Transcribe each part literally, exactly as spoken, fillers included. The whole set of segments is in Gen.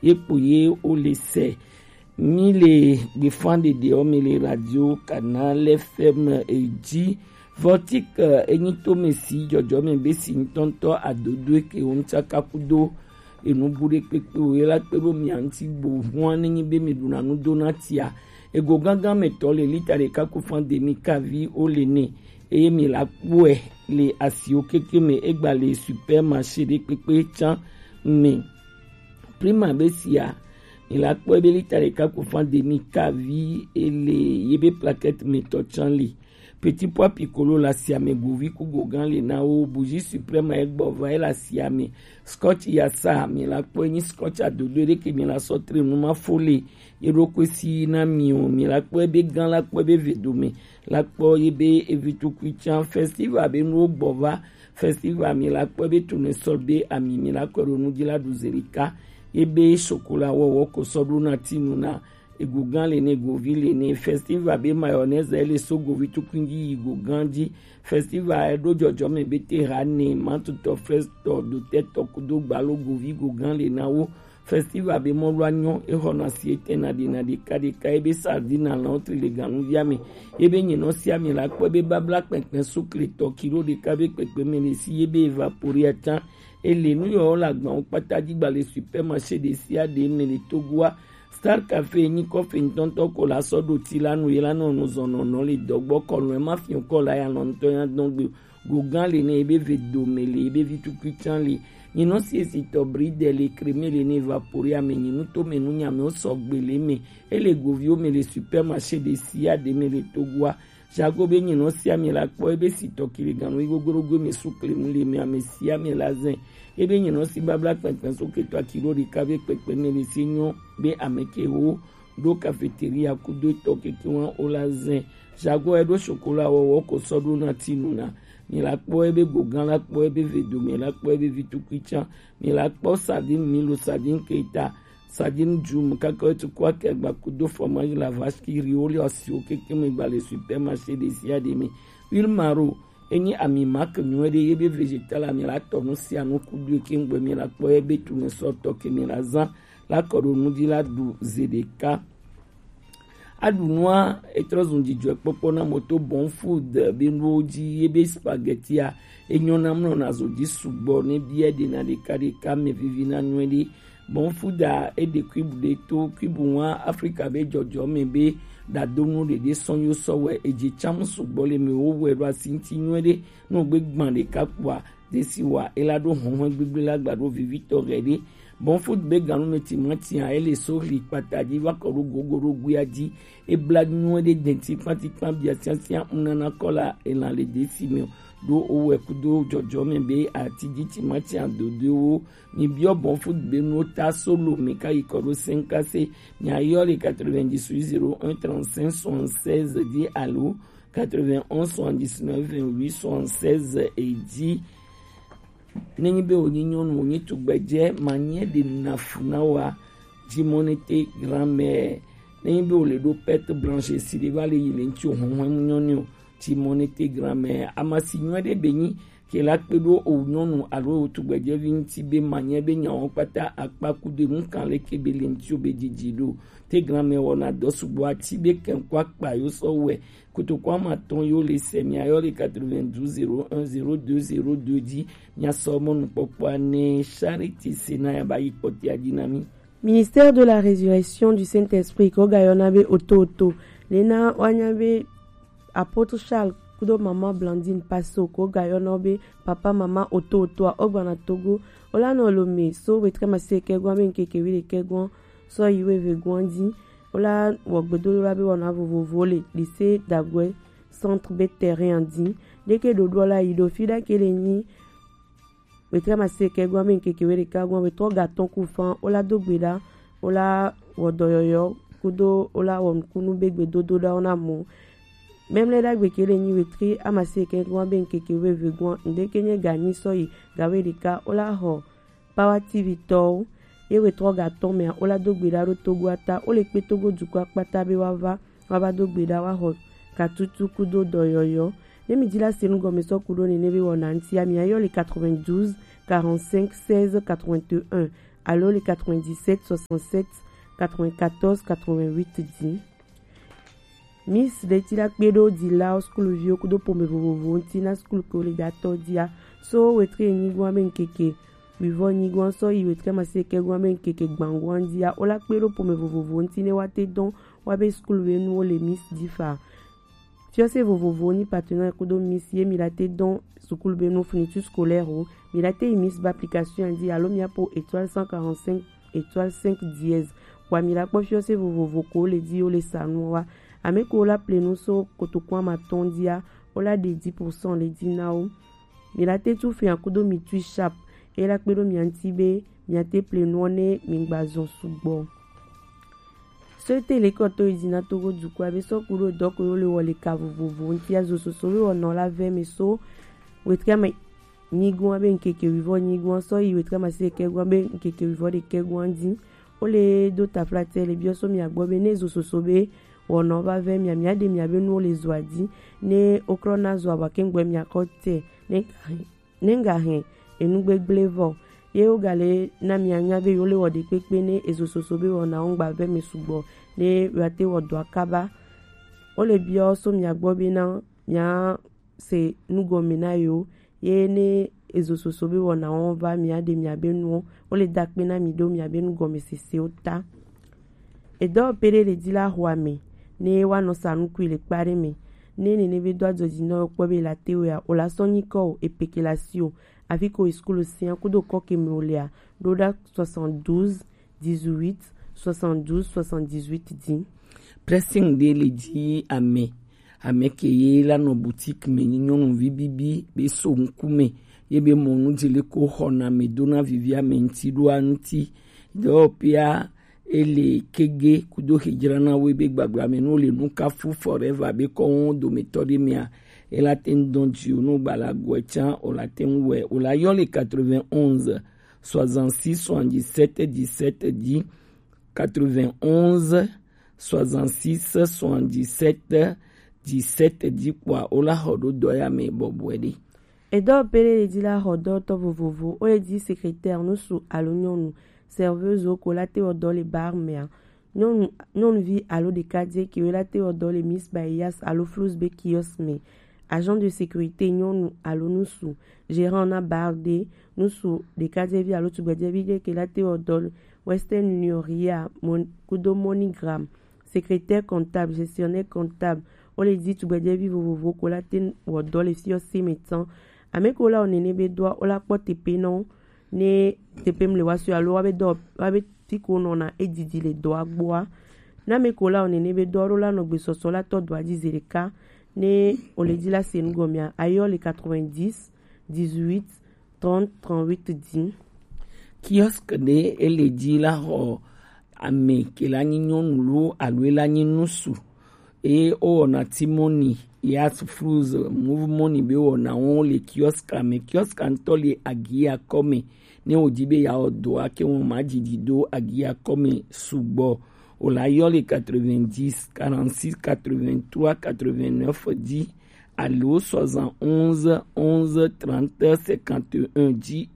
Ye kpo ye wo le se. Mi le gbefan ɖeɖe ɔ mi le radio Canal F M e ji. Vortic, eh, enyi to me si jɔjɔ me be si ŋutɔŋutɔ adodo ke wo ŋutsaka kudo enu bu ɖe kpekpe o ye la kpe ɖo mia ŋuti bo hua ne nyi be mi ɖuna nu do na tia. Ego gangan me tɔ le lita ɖeka ku fan demi kavi wo le ne. Eye mi la kpɔe le asiwo keke me egba le supermarché ɖe kpekpe can me. Prima be sia, mi la kpɔe be lita ɖeka ku fan demi kavi ele ye be plaquette me tɔ can li. Petit pois piccolo la sia me govi ku gogan le na wo, bougie suprême e gbɔ va e la sia me. Scotch ya sa mi la kpɔe nyi scotch adodo ɖe ke mi la sɔ tre nu ma fo le ye ɖo kwe si na mi o, mi la kpɔe be gan la kpɔe be ve do me la kpɔ ye be evi tukui can festival be nuwo gbɔ va. Festival mi la kpɔe be tunu sɔ be ami mi la kɔ ɖo nu dzi la ɖu zelika ye be sokola wɔwɔ ko sɔ ɖo na tinu na ego gan le ne govi le ne. Festival be mayonnaise e le so govi tukui dzi yi go gan dzi. Festival e ɖo jɔjɔ me be te ha ne matutɔ frestɔ dotɛtɔ kudo gbalo govi go gan le na wo. Festival be mɔlu anyɔ exɔna si ete na ɖe na ɖeka ɖeka ebe sardine alɔ tri le ganuvia me. Ebe nyinɔ sia mi la kpɔ be babla kpɛkpɛ sukle tɔ kilo ɖeka be kpɛkpɛ me le si ebe evapori atan ele nu yɔ la gbawo kpata dzi gba le supermarché ɖe sia ɖe me le Togoa. Star Café nyi kɔfe ŋutɔŋutɔ ko la sɔ ɖo ti la nu ye la nɔ nu zɔnɔnɔ le dɔgbɔ kɔnu ema fi kɔ la ya nɔ ŋutɔ ya dɔn gbe. Gogan le ne ebe ve dome le ebe vi tukui can le. Nyinɔ si esi tɔ bri de le kreme le ne evapori ame nyinu to me nu nyame o sɔ gbe le me. Ele goviwo me le supermarché ɖe sia ɖe me le Togoa. Jago be nyinɔ sia me la kpɔ ebe si tɔ kile ganu igogorogo me su klemu le me ame sia me la zɛn. Ebe nyinɔ si babla kpɛkpɛ so ketɔ akilo ɖeka be kpɛkpɛ me le se nyɔ be ame ke wo ɖo cafeteria kudo etɔ keke wa o la zɛn. Jago e ɖo sokola wɔwɔ ko sɔ ɖo na tinu na. Mi la kpɔ ebe gogan la kpɔ ebe ve dome la kpɔ ebe vi tukui can. Mi la kpɔ sardine milo sardine keta sardine djum kaka etu kɔ akɛ gba kudo fromage la vache qui rit wo le asiwo keke me gba le supermarché ɖe sia ɖe me. Huile maro enyi ami marque nyuie ɖe ye be végétal ami la tɔ nu sia nu kudo eke ŋgbe mi la kpɔ ebe tu me sɔ tɔ ke mi la zan la kɔ ɖo nu dzi la ɖu ze ɖeka. Aɖu nua etrɔ zun dzidzɔkpɔkpɔ na moto bon food be nuwo dzi ye be spaghetti a enyɔ na mlɔ na zo dzi sugbɔ ne bia ɖe na ɖeka ɖeka me vivi na nyuie ɖe. Bon food a eɖe kuibu ɖe to kuibu wa Afrika be jɔjɔ me be ɖadonu ɖeɖe sɔn yo sɔ wɛ edze tsam sugbɔ le me wo wɛ ɖo asi ŋuti nyuie ɖe. No gbe gban ɖeka kpɔa desi wa ela ɖo hɔnhɔn gbegble la gba ɖo vivitɔ ɣe ɖe. Bon food be ganu me timati a ele so hli kpata dzi va kɔ ɖo gogo ɖo guia dzi. Ebla nyuie ɖe denti kpati kpa bia tiatia ŋu nana kɔ la elan le desi me o. Ɖo owɛ kudo jɔjɔ me be ati dzi timati adodoewo. Mi biɔ bon food be nuwo ta solo mi ka yi kɔ ɖo senkase. Mi ayɔ le quatre-vingt-dix-huit zéro un trente-cinq soixante-seize dzi alo quatre-vingt-onze soixante-dix-neuf vingt-huit soixante-seize e dzi. Nenyi be wònyi nyɔnu, wònyi tugbedzɛ, manyɛ ɖe nafu na wa. Dzimonete grand-mère. Nenyi be wòle ɖo perte blanche si ɖe va le yi le ŋuti o, hɔnhɔn mu nyɔnu o. Dzimonete grand-mère. Amasi nyuie ɖe be nyi ke la kpe ɖo o nyɔnu alo o tugbedzɛvi ŋuti be manyɛ be nyawo kpata akpa kudo enu kan leke be le ŋuti o be dzidzi ɖo. Te grand-mère wɔna dɔ sugbɔ ati be kɛnkɔ akpa yo sɔ wɛ. Kotoko ama tɔn yo le sɛ mi ayɔ le quatre-vingt-douze zéro un zéro deux zéro deux dzi. Mi asɔ mɔnukpɔkpɔa ne Charity Sena ya ba yi kpɔtia dzi na mi. Ministère de la Résurrection du Saint-Esprit ko ga yɔna be oto oto. Lena wanya be Apôtre Charles kudo maman Blandine Paso ko ga yɔna be papa maman oto oto a ogbana Togo. Ola no lo me so wetre maseke gwa be nkeke wile ke gwa so yiwe ve gwa di. Wola wɔ gbedodoɖa be wɔna vovovowo le lycée Dagoe centre be terrain a dzi. Ɖeke ɖoɖoa la yi ɖo fi ɖa ke le nyi wetre maseke gɔn be ŋkeke weɖeka gɔn wetrɔ gatɔn ku fan wola do gbe ɖa wola wɔ dɔyɔyɔ kudo wola wɔ nukunu be gbedodoɖawo na mɔ. Mɛmlɛ ɖagbe ke le nyi wetre amaseke gɔn be ŋkeke weve gɔn ŋɖeke nye ganyi sɔ yi gaweɖeka wola xɔ Power T V tɔwo ye wetrɔ gatɔn mɛa wola do gbe ɖa ɖo Togo a ta. Wole kpe Togo dukɔ akpata be woava, woava do gbe ɖa, woaxɔ katutu kudo dɔyɔyɔ. Ne mi ji la se nu gɔme sɔ ku ɖo nene be wɔna ŋutia, mi ayɔ le quatre-vingt-douze quarante-cinq seize quatre-vingt-un. alo le quatre-vingt-dix-sept soixante-sept quatre-vingt-quatorze quatre-vingt-huit dix. Miss ɖe ti la kpe ɖo dilawo, skuluviwo kudo pome vovovowo ŋuti na skulu ke wo le datɔ dia. So wetre nyigɔn be ŋkeke wivɔ nyigɔn sɔ yi wetre amasieke gɔn be ŋkeke gbangɔn dia, wo la kpe ɖo pome vovovowo ŋuti ne wa te dɔn wa be skulu be nuwo le Miss difa. Fiɔse vovovowo ni partenaire kudo Miss ye mi la te dɔn sukulu be nu fourniture scolaire o, mi la te yi Miss ba application di alo mi apo étoile cent quarante-cinq étoile cinq dièse. Wa mi la kpɔ fiɔse vovovo ko le di wo le sa nu wa. Ame ko la ple nu so kotokua ma tɔn dia, wo la de dix pour cent le di na wo. Mi la te tu fia kudo mi tui sharp, e la kpe ɖo mia ŋuti be mia te ple nuɔ ne mi gba zɔn sugbɔ. Sete le kɔtɔ yi dina Togo dukɔa be sɔ kudo dɔ ko yo le wɔ le ka vovovo ŋuti azo soso be wɔnɔ la vɛ mi so wetre ame nyigɔn be ŋkeke wivɔ nyigɔn sɔ yi wetre amasieke gɔn be ŋkeke wivɔ ɖekɛ gɔn di. Wo le do taflatɛ le biɔ so mia gbɔ be ne zo soso be wɔnɔ va vɛ mia, mia ɖe mia be nuwo le zoa di, ne wo krɔ na zoa wa ke ŋgbɔ mia kɔ te ne ne ŋga hɛn enu gbegble vɔ. Ye wo ga le na mia nya be yo le wɔ ɖekpekpe ne ezo soso be wɔna wo ŋgba vɛ mi sugbɔ ne wa te wɔ dɔa kaba. Wo le biɔ so mia gbɔ be na mia se nugɔme na yo, ye ne ezo soso be wɔna wo va mia ɖe mia be nuwo, wo le da kpe na mi ɖo mia be nugɔme sese wo ta. Edɔ pere le di la xɔ ame ne wa nɔ sa nukui le kpa ɖe me. Ne nene be do adzɔ dzi nɔ kpɔ be la te wea, o la sɔ nyi kɔ o, e peke la si o. Afi ko e skulu sia kudo kɔ ke me o lea, ɖo ɖa soixante-douze dix-huit soixante-douze soixante-dix-huit di. Pressing ɖe le di ame, ame ke ye la nɔ boutique me nyi nyɔnuvi bibi be so ŋkume ye be mɔnu dzi le ko xɔna me dona vivi ame ŋuti ɖoa ŋuti. Dɔwɔƒea ele kege kudo xedzrana wo be gbagbla me no le nukafu forever be kɔwo dometɔ ɖe mea, ela te ŋu dɔn dziwo no gbala gɔe tsa o la te ŋu wɛ o la yɔ le quatre-vingt-onze soixante-six soixante-dix-sept dix-sept dix, quatre-vingt-onze soixante-six soixante-dix-sept dix-sept dix kpɔa o la xɔ ɖo dɔ ya me bɔbɔe ɖe. Edɔ pele le di la xɔ dɔtɔ vovovo, o le di secrétaire nusu alo nyɔnu, serveuse ko la te wɔ dɔ le bar mea, nyɔnu, nyɔnuvi alo ɖekadze ke la te wɔ dɔ le Miss Bayas alo Flous be kiosque me, agent de sécurité nyɔnu alo nusu, gérant na bar ɖe, nusu ɖekadzevi alo tugbedzevi ɖe ke la te wɔ dɔ le Western Union, Ria, Mon-, kudo MoneyGram, secrétaire comptable, gestionnaire comptable, o le di tugbedzevi vovovo ko la te wɔ dɔ le fiɔ se me tsan. Ame ko la wɔ nene be dɔa, o la kpɔ tepe nɔ, ne tepe mle wa so alo wa be dɔ, wa be fi ko nɔna e didi le dɔa gbɔa. Na ame ko la wɔ nene be dɔa, o la nɔ gbesɔsɔ la tɔ dɔa di ze ɖeka, ne o le di la se nu gɔmea, ayɔ le quatre-vingt-dix dix-huit trente trente-huit di. Kiosque ɖe e le di la xɔ ame ke la nyi nyɔnu lo alo e la nyi nusu. E o wɔna ti mɔni, ya Flous, Move Money be wɔna wo le kiosque me. Kiosque ŋutɔ le agia kɔme. Ne o di be ya wɔ dɔa ke wɔn ma didi do agia kɔme sugbɔ, o la yɔ le quatre-vingt-dix quarante-six quatre-vingt-trois quatre-vingt-neuf di alo soixante-onze onze trente cinquante et un di.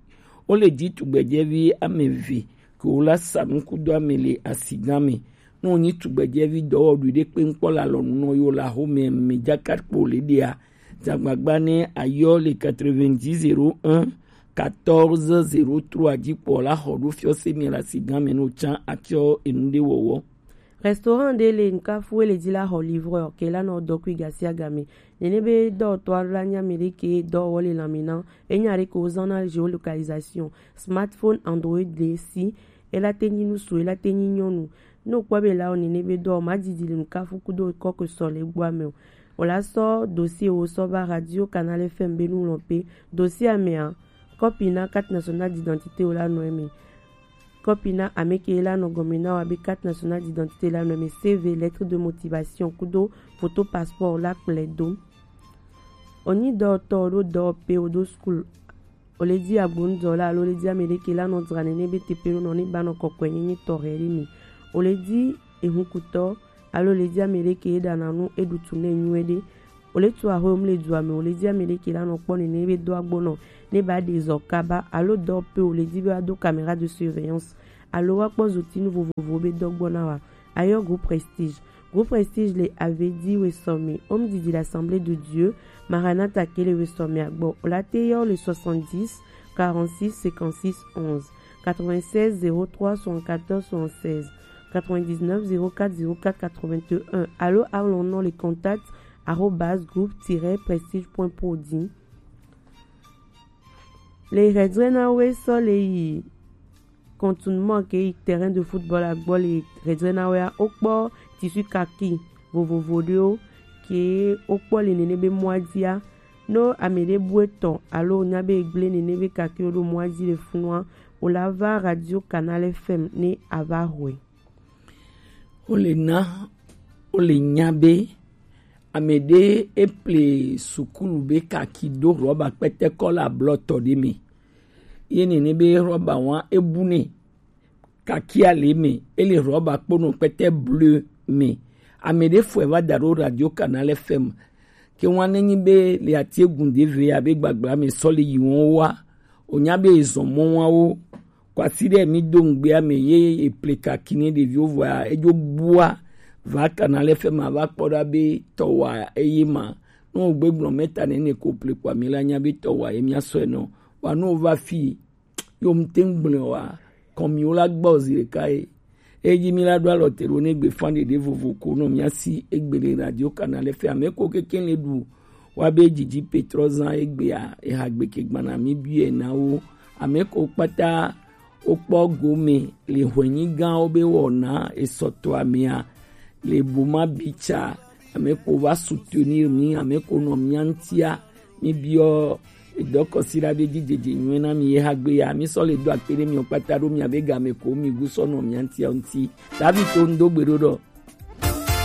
O le di tugbedzevi ame eve ke wo la sa nukudo ame le asigan me. Ne o nyi tugbedzevi dɔwɔɖui ɖe kpe ŋkpɔ le alɔnu nɔ yo la xome me dzaka kpo le ɖea, dzagbagba ne ayɔ le quatre-vingt-dix zéro un quatorze zéro trois di kpɔ la xɔ ɖo fiɔ se mi le asigan me no tsan atsɔ enu ɖe wɔwɔ. Restaurant ɖe le nukafu e le di la xɔ livreur ke la nɔ dɔ kui gasia game. Nene be dɔwɔtɔ alo la nya mi ɖe ke dɔwɔwɔ le lãme na. Enya ɖe ke wo zan na géolocalisation. Smartphone Android ɖe si, e la te nyi nusu, e la te nyi nyɔnu. Ne o kpɔ be la wɔ nene be dɔwɔ ma didi le nukafu kudo kɔkɔ sɔ le gbɔ ame o. O la sɔ dossier wo sɔ va Radio Canal F M be nu lɔ pe. Dossier amea, copie na carte nationale d'identité wo la nɔ eme. Copie na ame ke la nɔ gɔme na wa be carte nationale d'identité la nɔ eme, C V, lettre de motivation kudo photo passeport la kplɛ do. O nyi dɔwɔtɔ ɖo dɔwɔƒe o ɖo school. O le di agbonudɔla alo o le di ame ɖe ke la nɔ dzra nene be teƒe ɖo nɔ ne ba nɔ kɔkɔe nyenye tɔxɛ ɖe mi. O le di ehunkutɔ alo o le di ame ɖe ke ɖana nu eɖu tu nɛ nyuie ɖe. O le tu axwe, o mu le du ame, o le di ame ɖe ke la nɔ kpɔ nene be do agbo nɔ ne ba ɖe zɔ kaba alo dɔ pe, o le di be wa do caméra de surveillance alo wa kpɔ zotinu vovovo be dɔ gbɔ na wa. Ayɔ Groupe Prestige. Groupe Prestige le Avedi Wesɔmi, Home Didi l'Assemblée de Dieu, Maranatha ke le Wesɔmi agbɔ. O la te yɔ le soixante-dix, quarante-six, cinquante-six, onze, quatre-vingt-seize, zéro trois, soixante-quatorze, soixante-seize, quatre-vingt-dix-neuf, zéro quatre, zéro quatre, quatre-vingt-un, alo alɔnɔ le contact arobase groupe tiret prestige point pro di. Le hɛdrɛ na we sɔ le yi contournement ke yi terrain de football agbɔ le hɛdrɛ na we a, o kpɔ tissu kaki vovovo ɖewo ke o kpɔ le nene be mɔa dia. No ame ɖe bu etɔ alo nya be egble nene be kaki o ɖo mɔa di le funua, o la va Radio Canal F M ne a va hɔe. Wo le na, wo le nya be ame ɖe e ple sukulu be kaki ɖo rɔba kpɛtɛkɔ la blɔtɔ ɖe me. Ye nene be rɔba wa e bu ne kaki a le me, e le rɔba kponɔ kpɛtɛ bleu me. Ame ɖe fɔe va da ɖo Radio Canal F M. Ke wa ne nyi be le atiegun ɖe ve abe gbagbla me sɔ le yi wɔn wa. O nya be ezɔn mɔ wa wo. Kwasi ɖe mi do ŋgbe ame ye e ple kaki ne ɖeviwo vɔa edzo bua va Canal F M va kpɔ ɖa be tɔwa eye ma. No gbe gblɔ mɛta ne ne ko ple kpa mi la nya be tɔwa ye mia sɔe nɔ. Wa no va fi yo mte gblɔ wa kɔn mi wo la gbɔ zi ɖeka ye. Eyi mi la ɖo alɔ te ɖo ne gbe fan ɖeɖe vovo ko nɔ mia si egbe le Radio Canal F M ame ko keke le ɖu wa be dzidzi petrɔ zan egbea eha gbe ke gbana mi bi ena wo. Ame ko kpata wo kpɔ gome le hwenyi gãwo be wɔna esɔtɔ amea le boma bicha. Ame ko va soutenir mi, ame ko nɔ mia ŋtia. Mi biɔ edɔkɔsi la be dzidze nyuie na mi ye ha gbe ya. Mi sɔ le do akpe ɖe mi kpata ɖo mia be game ko mi gu sɔ nɔ mia ŋtia ŋti. David to ŋdo gbe ɖo ɖɔ.